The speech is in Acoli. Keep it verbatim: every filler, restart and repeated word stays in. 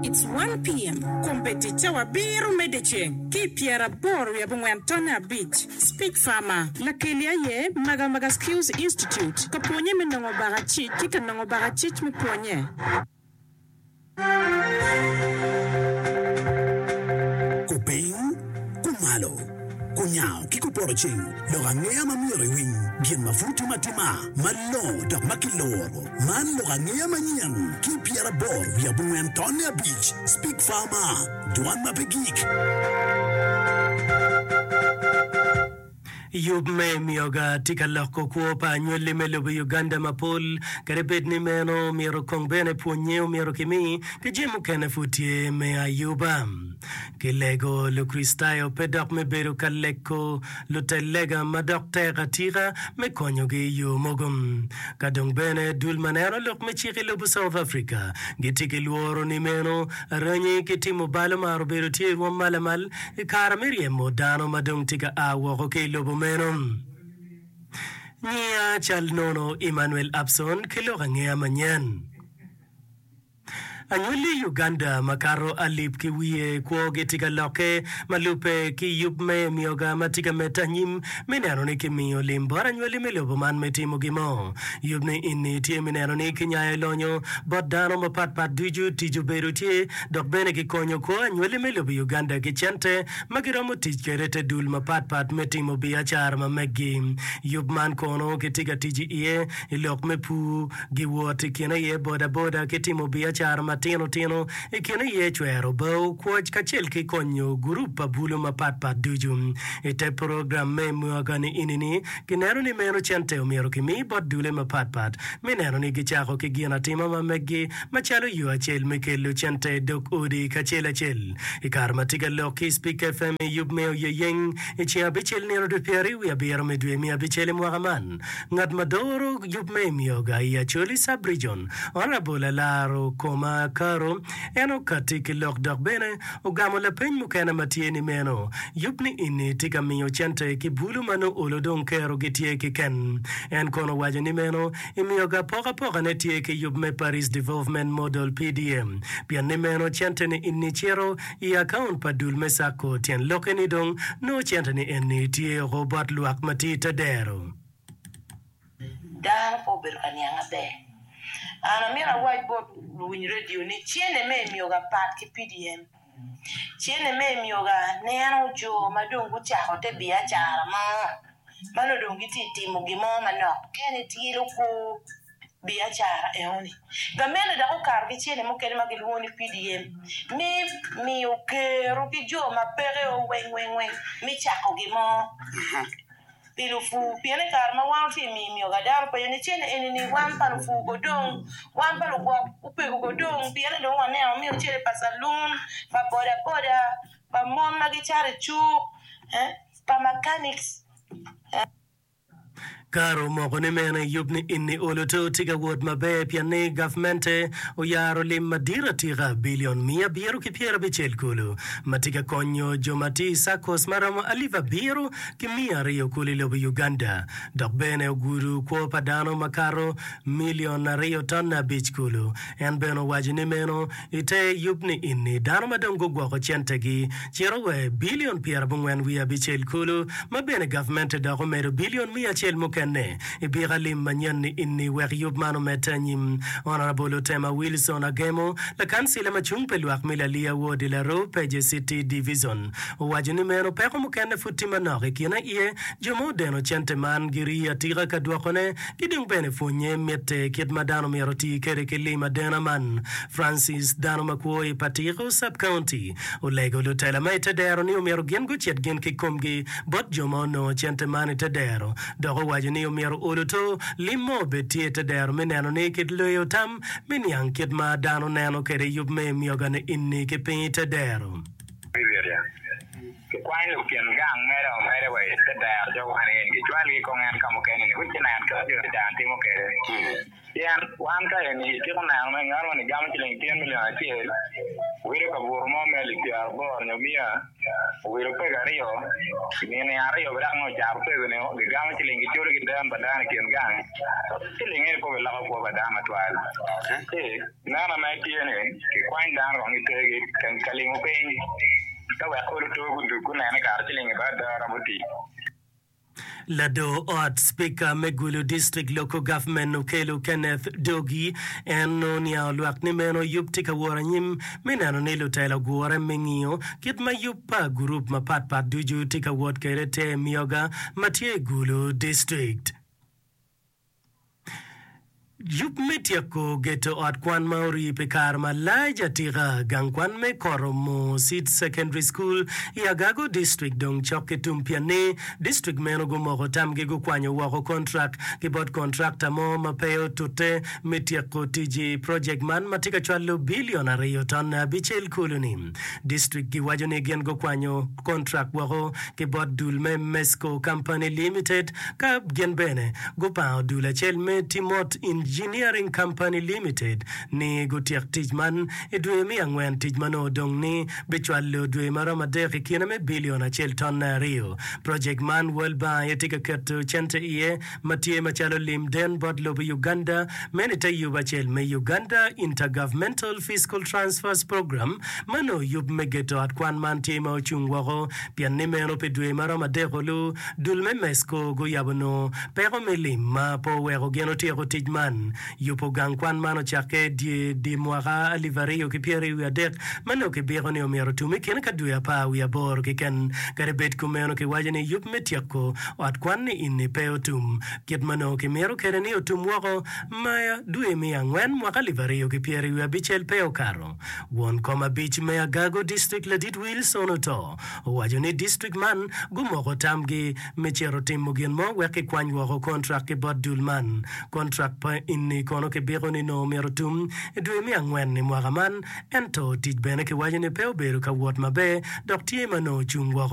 It's one P M. Kombeddi cawa abiro me dyeceng ki i pyeraboro wiye abongwen tonne abic. Speak Farmer. Lakeli aye Magamaga Skills Institute ka pwonye me nongo bakacic ki ka nongo bakacic me pwonye. Kupiny, kumalo, kunyango ki kupoto ceng, lok angeya ma myero iwiny, gin ma pud timo atima, malongo dok ma kiloro. Man lok angeya manyen ki pyeraboro wiye abongwen tonne abic. Speak Farmer, dwan ma pe gik. Yub me mioga tye ka loko kwo pa anywali me lobo Uganda mapol. Kadi bed ni meno myero kong bene pwonye omyero kimi ki jami mukene pud tye me ayuba. Kilego Lukricitayo pe dok me bedo ka leko lutel lega ma dok tek atika me konyogi i yo mogo. Ka dong bene dul ma neno lok me cik i lobo South Africa gitye ki lworo ni meno aranyi ki timo bal omaro bedo tye i rwom ma lamal i kare me ryemo dano ma dong tye ka a woko ki i lobo meno. Nyiya cal nono Emmanuel Abson ki lok angeya manyen. Anywali Uganda makato alip ki wiye kwogi tye ka lokke ma lubbe ki yub me mioga ma tye ka medde anyim me neno ni kimiyo lim bot anywali me lobo man me timo gin mo. Yub ni eni tye me neno ni kinyayo lonyo bot dano mapat pat ducu, tic obedo tye dok bene kikonyo kwo anywali me lobo Uganda ki cente ma giromo tic kwede te dul mapat pat me timo biacara ma meggi. Yub man kono kitye ka tic iye i lok me pur, giwot i kine iye bodaboda ki timo biacara matino tino, i kine iye cwero bao, kwoc kacel ki konyo gurup pa bulu mapat pat ducu. I te program me mwaka ni ini-ni, kineno ni meno cente omyero kimi bot dule mapat pat me neno ni gicako ki gin atima ma meggi macalo yo acel me kelo cente i dog odi kacel acel. I kare ma tye ka lok ki Speak F M i yub me Oyeyeng i ceng abicel nino dwe pyeraryo wiye abiro me dwe me abicel i mwaka man, ngat ma doro yub me Emyoga i Acholi Sub-Region, Honourable Alaro Koma Karo, en okatti ki lok dok bene ogamo lapeny mukene ma tye ni meno yub ni eni tye ka miyo cente ki bulu ma nongo olo dong kero gitye kiken. En kono owaco ni meno Emyoga apokapoka ne tye ki yub me Parish Development Model, P D M, pien ni meno cente ni eni cito i akaunt pa dul me Sacco tyen lokke ni dong nongo cente ni eni tye oko bot lwak ma tye i te dero. Dano pe obedo ka niang aber. An amito awac bot luwiny radio ni cene me emyoga pat ki P D M. Cene me emyoga neno jo ma dong gucako te biacara mo ma nongo dong gitye ka timo gin mo manok kene tyelo kor biacara enoni. Gamente dok okato ki cene mukene ma gilwongo ni P D M me miyo kero ki jo ma peke o weng weng weng me cako gin mo pi lupur pien i kare ma wan watye ka miyo myoga dano openyo ni cene eni ni wan pa lupur go dong wan pa lugwok opego go dong pien ni dong waneno miyo cene pa calun pa boda boda pa mon ma gicato i cuk pa mechanics. Kare omoko ni meno i yub ni ini olo to tye ka wot maber pien ni gavmente oyaro lim madit atika bilion miya abiro ki pyerabicel kulu ma tye ka konyo jo ma tye i SACCOs ma romo alip abiro ki miya aryo kulu i lobo Uganda dok bene ogudo kwo pa dano makato milion aryo tonne abic kulu. En bene owaco ni meno I te yub ni ini, dano ma dong gugwoko centegi cito wa i bilion pyerabongwen wiye abicel kulu, ma bene gavmente dok omedo bilion miya acel mukene i bika lim manyen ni ini wek yub man omedde anyim. Honourable Otema Wilson Agemo, lakancila ma cung pi lwak me Laliya Ward i Laroo Peje City Division, owaco ni meno peko mukene pud tye manok i kine iye jo ma odeno cente man girii atika ka dwokone ki dong bene pwonye mitte kit ma dano myero oti kwede ki lim adena man. Francis, dano ma kwo i Patiko Sub-County, olego lutela ma i te dero ni omyero gin gucit gin ki komgi bot jo ma onongo cente man i te dero dok owaco ni omyero olo to lim mo obed tye i te dero me neno ni kit leyo tam me niang kit ma dano neno kwede yub me myoga ni inni ki piny i te dero. Kikwany lukin gang mere omede wa i te dero jo wan eni kicwalgi kong en ka mukene ni gucinen kit ma jo dano timo kwede. Pien wan ka eni itiko neno me ngat moni gamo ciling tyen milion acel, wilo kabuto mo me alip pyeraboro nyo miya, owilo pego aryo, nino aryo bene dok nongo ocato pego-ni gigamo ciling giculo ki den pa dano i kin gang, ciling eni pe obiloko kwo pa dano matwal. Ci neno ma tye ni kikwany dano kong gitergi ka limo piny ka wek olo to gudug gunene kare ciling i bad ada romo tic. Lador ot Spika me Gulu District Local Government Okello Kenneth Dogi en oniango lwak ni meno yub tye ka wot anyim me neno ni lutela ogure me ngiyo kit ma yub pa gurup mapat pat ducu tye ka wot kwede te mioga ma tye i Gulu District. Yub me tyeko geto ot kwan ma orii pi kare malac atika, gang kwan me Koromo Seed Secondary School i Agago District dong cok ki tum pienni district meno gumoko tamgi gukwanyo woko kontrak ki bot kontrakta mo ma pe otute me tyeko tic i projek man ma tye ka cwalo bilion aryo tonne abicel kulu-ni. District giwaco ni gin gukwanyo kontrak woko ki bot dul me Mesco Company Limited ka gin bene gupango dul acel me Timot Engineering Company Limited ni gutyek tic man i dwe me angwen. Tic ma nongo odong ni bicwalo dwe ma romo adek i kine me bilion acel tonne aryo. Projek man World Bank aye tye ka keto cente iye ma tye macalo lim den bot lobo Uganda meno i te yub acel me Uganda Intergovernmental Fiscal Transfers Program ma nongo yub me geto ot kwan man tye ma ocung woko pien ni meno pi dwe ma romo adek olu dul me Mesco guyabo nongo peko me lim ma pe oweko gin otyeko tic man. Yubo gang kwan man ocakke dye dye mwaka alip aryo ki pyeraryo wiye adek ma nongo kibiko ni omyero otum i kine ka dwe apar wiye aboro keken. Kadi bed kumeno, kiwaco ni yub me tyeko ot kwan-ni ini pe otum kit ma nongo kimito kwede ni otum woko ma dwe me angwen mwaka alip aryo ki pyeraryo wiye abicel pe okato. Won kom abic me Agago District Ladit Wilson Oto owaco ni district man gumoko tamgi me cito timo gin mo wek kikwany woko kontrak ki bot dul man. Kontrak pa enni kono kibiko ni nongo myero otum i dwe me angwen i mwaka man, ento tic bene kiwaco ni pe obedo ka wot maber dok tye ma nongo ocung woko.